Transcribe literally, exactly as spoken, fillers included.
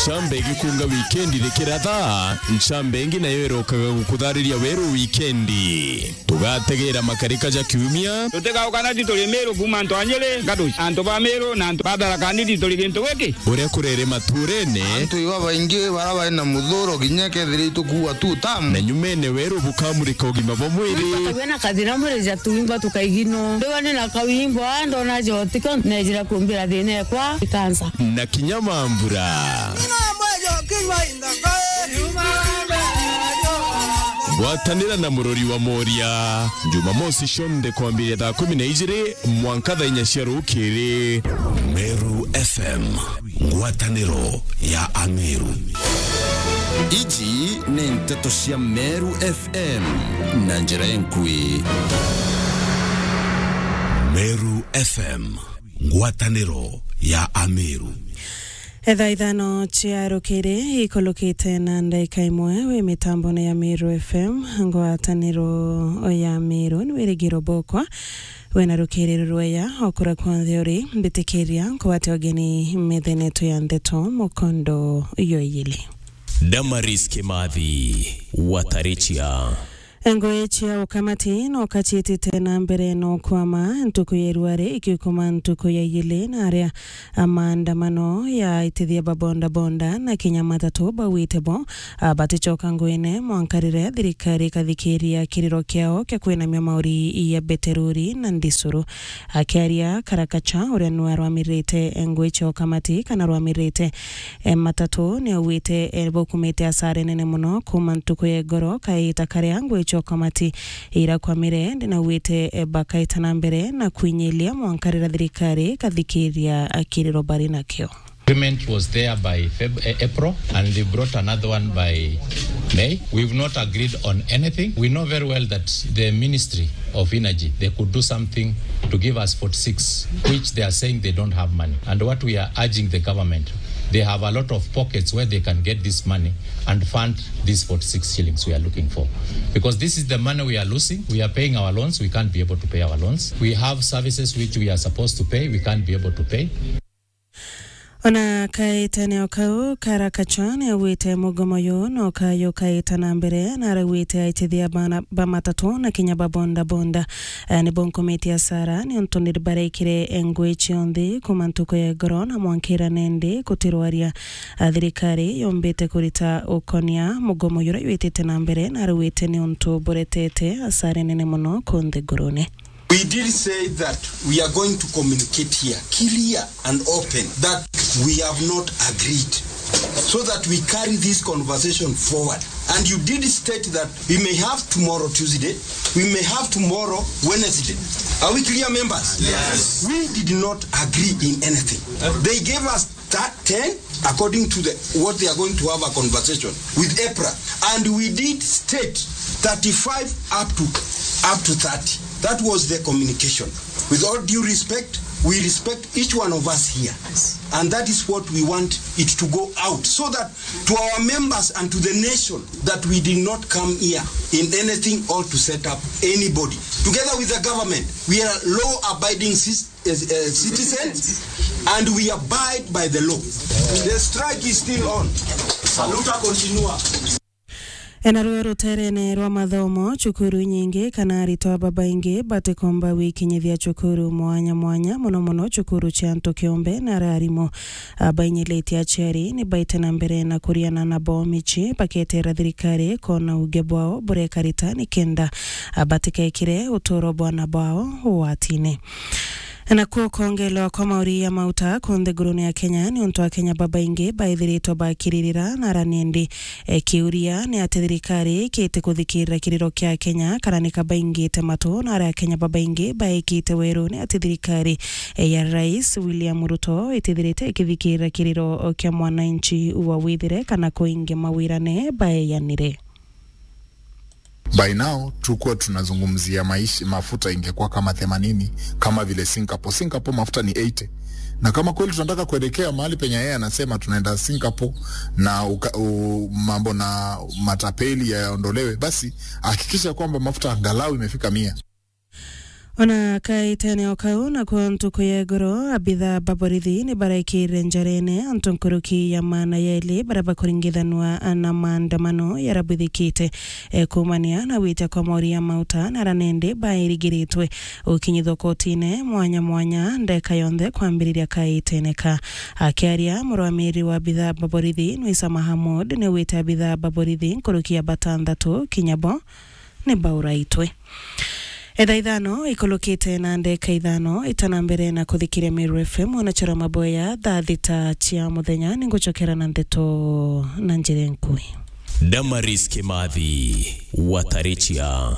Ncamba igikunga wikendi rikiratha, ncamba ingi nayo irokaga gukuthariria weru wikendi. Tugategeera makarika ja kiumia. Tutigauka na ti turi Miru kuuma antu a Nyeri, Gaduci, antu ba Miru na antu ba Tharaka Nithi turi gintu giki. Uria kurere maturene. Antu iba baingi bara bari na muthuro kinya kethira itukuua tu tamu. Na nyumene weru bukamurika ugima bwa mwiri. Tukagua na kathina mwiri ja tuimba tukaigino. Ndiwa ni na kawimbo, ndona jotiko, nejira kumbira thina ekwa, ikansa. Na kinya mambura. Ngwatanira na murori wa Moria. Jumamosi cionthe kwambiria thaa kumi na ijiri mwanka thaa inya cia rukiri. Meru F M, ngwataniro ya Ameru. Iji ni nteto cia Meru F M na njira enkui. Meru F M, ngwataniro ya Ameru. Etha ithano cia rukiri ikulukite na ndaika imwe wi mitambone ya Meru F M, ngwataniro ya Meru, ni wirigiro bokwa. Wena rukiri rurweya okura kwonthe uri, mbitikiria nkugwate ugeni methenetu ya ndeto mukondo yoyili. Damaris Kimathi, Watarichia. Ngui cia ukamati no kaciitite na mbere no kwama ntuku ya irua ri ikiukuma ntuku ya igili na aria a maandamano ya aitithia ba bodaboda na kinya matatu bauite bo, a, baticoka nguine mwanka riria thirikari ikathikiria kiriro kiao kia kwinamia mauri ya beteruri na ndisuru. Akiaria Karakacha, uria niwe arwamirite ngui cia ukamati kana arwamirite, e, matatu, ni augite, e, baukumite asara nene muno kuma ntuku ya igoro kaita karia ngui cia ukamati irakwamire, ndi naugite, e, bakaita na mbere na kwinyilia mwanka riria thirikari ikathikiria kiriro bari nakio. Agreement was there by Feb-, eh, April, and they brought another one by May. We've not agreed on anything. We know very well that the Ministry of Energy, they could do something to give us forty-six, which they are saying they don't have money. And what we are urging the government, they have a lot of pockets where they can get this money and fund these forty-six shillings we are looking for. Because this is the money we are losing. We are paying our loans. We can't be able to pay our loans. We have services which we are supposed to pay. We can't be able to pay. Ona kaitene o kau, Karakacha ni augite mugomo uyu no kayo kaita na mbere, na arauite aitithia bana ba matatu na kinya ba boda boda, eh, ni bonkomete asara ni untu ni barekire ngui cionthe kuma ntuku ya igoro na mwankira nendi kutirwaria, a, thirikari yombite kurita ukonia mugomo uyu uria witite na mbere, na arauite ni untu buretete asara nene muno kunthe ngurune. We did say that we are going to communicate here clear and open that we have not agreed, so that we carry this conversation forward. And you did state that we may have tomorrow, Tuesday, we may have tomorrow, Wednesday. Are we clear, members? Yes. We did not agree in anything. They gave us that ten, according to the, what they are going to have a conversation with EPRA. And we did state thirty-five up to, up to thirty. That was the communication. With all due respect, we respect each one of us here. And that is what we want it to go out, so that to our members and to the nation, that we did not come here in anything or to set up anybody. Together with the government, we are law-abiding cis-, eh, eh, citizens, and we abide by the law. The strike is still on. Saluta continua. Enaruo ruterene rwa mathomo, cukuru nyingi kana aritwa babaingi batikomba gwikinyithia cukuru mwanya mwanya, muno muno cukuru cia antu kiumbe na aria arimu, a, bainyilitie aciari ni baite na mbere na kuriana nabo mici, baketerera thirikari kona uge bwao burekarita nikenda, a, batikekire uturo bwana bwao ugwatine. Nakuo kwongelwa kwa mauri ya mauta kunthe ngurune ya Kenya ni untu Akenya babaingi baithiritwe bakiririra na aranendi. E, kiuria ni ati thirikari kiti kuthikirira kiriro kia Kenya kana ni kabaingite matu, na aria Akenya babaingi baikite weru ni ati thirikari, e, ya Rais William Ruto itithirite ikithikirira kiriro kia mwananchi wa withire kana kuingi mawirane baeyanire. By now, tukuwa tunazungumzia maisha, mafuta ingekuwa kama themanini, kama vile Singapore. Singapore mafuta ni eighty. Na kama kweli tunataka kuelekea mahali penye yeye anasema tunaenda Singapore na uka-, u-, mambo na matapeli yaondolewe, basi hakikisha kwamba mafuta angalau imefika mia. Ona kaitene o kau, nakuo ntuku ya iguru, abitha ba borithi ni baraikirire njarene antu nkuruki ya maana yeli baria bakuringithanua na maandamano yarabuthikite, e, kuumania na gwitia kwa mori ya mauta na aria nindi bairigiritwe gukinyithwa kotine mwanya mwanya ndeka yonthe kwambiriria kaitene ka. Akiaria, murwamiri wa abitha ba borithi Nwisa Mahamud ni wite abitha ba borithi nkuruki ya batanthatu kinya bo ni bauraitwe. Etha ithano ikulukite na ndeka ithano itana mbere na kuthikiria Meru F M, ona chora maboya thaa thita cia muthenya, ningucokera na ndeto na njira nkui. Damaris Kimathi, Watarichia.